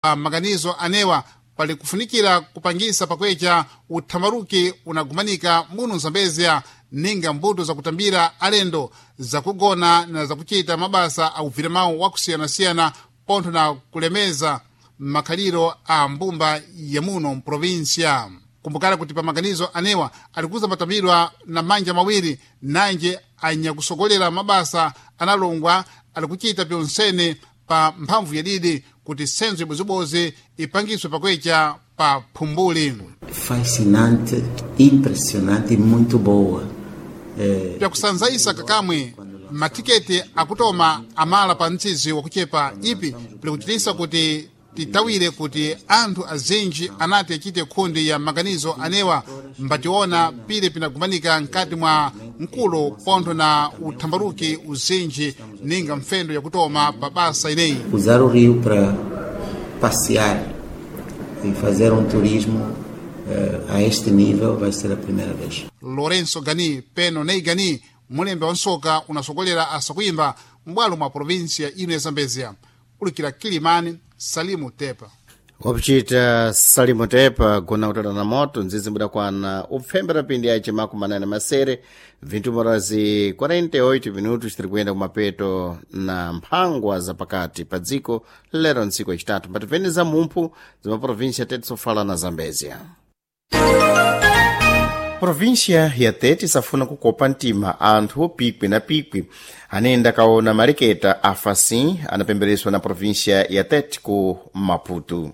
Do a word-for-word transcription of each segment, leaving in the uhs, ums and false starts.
Maganizo anewa pali kufunikira kupangisa pakwecha uthamaruki unagumanika muno mzambezia ninga mbuto zakutambira alendo, zakugona na zakuchita mabasa a mawu wakusiyanasiyana pontho na kulemeza makhaliro a mbumba ya muno mprovinsia. Kumbukani kuti pa maganizo anewa alikuza matambirwa na manja mawiri, nanje anyakusogolera mabasa analongwa alikuchita pyonsene pa mphamvu yadidi kuti senzo ibozibodzi ipangiswe pakwecha pa phumbuli. Fascinante, impressionante e muito boa. Pyakusanzaisa kakamwe matiketi akutoma amala pa mtsizi wakuchepa ipi pilikuchitisa kuti titawire kuti anthu azinji anati achite khundi ya maganizo anewa mbationa pile pinagumanika mkati mwa mkulo pontho na uthambaruki uzinji ninga mfendo yakutoma pa basa ineyi. Usar o rio para passear e fazer um turismo eh, a este nível vai ser a primeira vez. Lourenço Gani peno Nei Gani, mulembe wa nsoka unasogolera asakuyimba m'bwalo mwa provinsia ino ya Zambezia. Ulikira Kilimani, Salimu Tepa. Wapuchita Salimu Tepa gona kutala na moto nzizi mbudakwana upfembera pindi yace makumi manane masere vintu morazi quarenta e oito minutos, tiri kuyenda kumapeto na mphangwa zapakati pa dziko lero ntsiku yacitatu mbatipeni za mumphu za maprovinsia tete sofala na Zambezia. Província ya Tete isafuna kukopa mtima anthu pikwi na pikwi anayenda kaona maleketa afa assim anapembereswa na província ya Tete ku Maputo.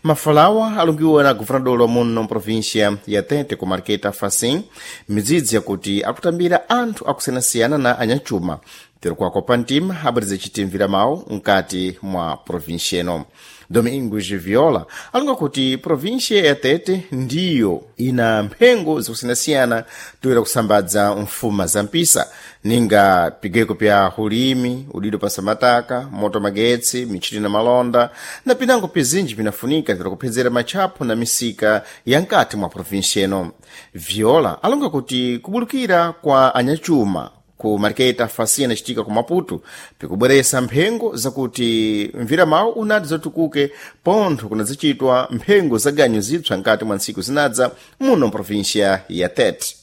Mafalawa alungiwa na governador wa muno província ya Tete ku mariketa afa assim, midzidzi yakuti akutambira anthu akusiyanasiyana na anyachuma tiri kuwakopa mtima abwerize chitimvira mawu mkati mwa província ino. Domingos Viola alonga kuti província ya Tete ndiyo ina mphengo zakusiyanasiyana toera kusambadza mfuma za mpisa ninga pigeko pya ulimi, udido pa samataka, moto, magetsi, michini na malonda na pinango pizinji pinafunika tira kuphedzera matchapo na misika ya nkati mwa província ino. Viola alonga kuti kubulukira kwa anyachuma ku mariketa fasi anacitika ku Maputo pikubweresa mphengo zakuti mvira mawu unati zatukuke pontho kunadzicitwa mphengo za ganyu zipsa nkati mwa ntsiku zinadza muno mprovinsia ya Tete.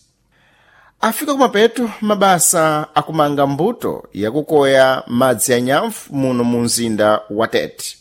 Afika kumapeto mabasa akumanga mbuto yakukoya madzi ya nyamfu muno mu mzinda wa Tete.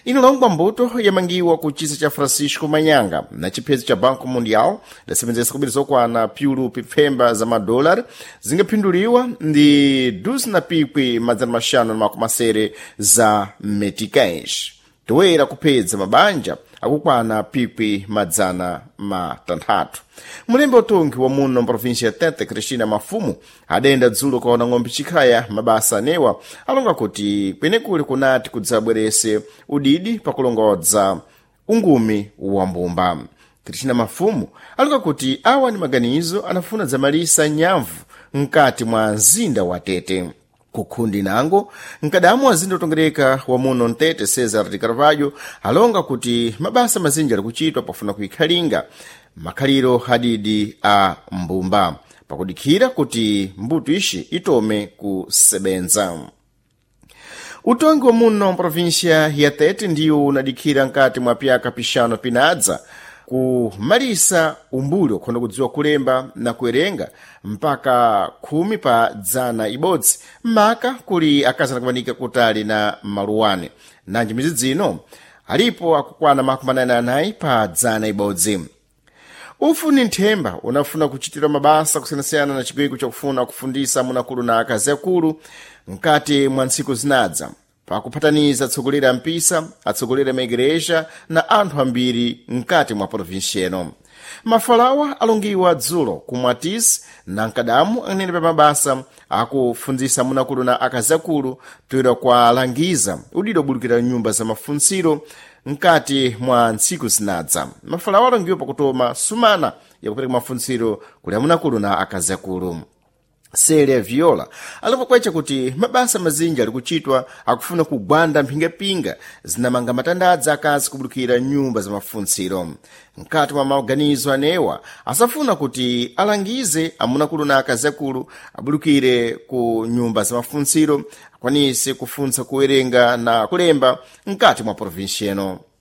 Inalongwa mbuto yamangiwa ku chisa cha Francisco Manyanga na chiphezo cha Banco Mundial lasebenzesa kubiri zokwana piulu pipfemba za madolari zingaphinduliwa ndi duzi na pikwi madzana maxanu na makumi masere za meticais toera kuphedza mabanja akukwana pikwi madzana matanthatu. Mulembe utungi wa muno mprovinsia ya Tete, Cristina Mafumu, adayenda dzulo kaona ng'ombe chikhaya mabasa anewa. Alonga kuti kwenekuli kunati kudzabwerese udidi pakulongodza ungumi wa mbumba. Cristina Mafumu alonga kuti awa ni maganizo anafuna dzamalisa nyamvu mkati mwa mzinda wa Tete. Kukhundi nango mkadamu azinda utongereka wa muno mtete, Cesar de Carvalho, alonga kuti mabasa mazinji ali kuchitwa pofuna kuikhalinga makhaliro adidi a mbumba pakudikhira kuti mbuto ishi itome kusebenza. Utongi wa muno mprovinsia ya Tete ndiwo unadikhira nkati mwa pyaka pixano pinadza kumalisa umbuli wakhonda kudziwa kulemba na kuwerenga mpaka khumi pa dzana ibodzi, maka kuli akazi anakumanika kutali na maluwane. Nanji midzidzi ino alipo akukwana makumi anayi na anayi pa dzana ibodzi. Ufu ni nthemba unafuna kuchitira mabasa kusiyanasiyana na chigweko chakufuna kufundisa amunakulu na akazi akulu mkati mwa ntsiku zinadza pakuphataniza atsogoleri a mpisa, atsogoleri a maigereja na anthu ambiri mkati mwa provinsia ino. Mafalawa alongiwa dzulo ku Mwatisi na mkadamu anene pa mabasa akufundzisa amunakulu na akazi akulu toera kualangiza udido obulukira nyumba za mafuntsiro mkati mwa ntsiku zinadza. Mafalawa alongiwa pakutoma sumana yakupereka mafuntsiro kuli amunakulu na akazi akulu. Celia Viola alipokwecha kuti mabasa mazinji ali kuchitwa akufuna kugwanda mphingapinga zinamanga matandadza akazi kubulukira nyumba za mafuntsiro. Mkati mwa maganizo anewa asafuna kuti alangize amunakulu na akazi akulu abulukire ku nyumba za mafuntsiro. Akwanise kufuntsa kuwerenga na kulemba mkati mwa provinsi eno.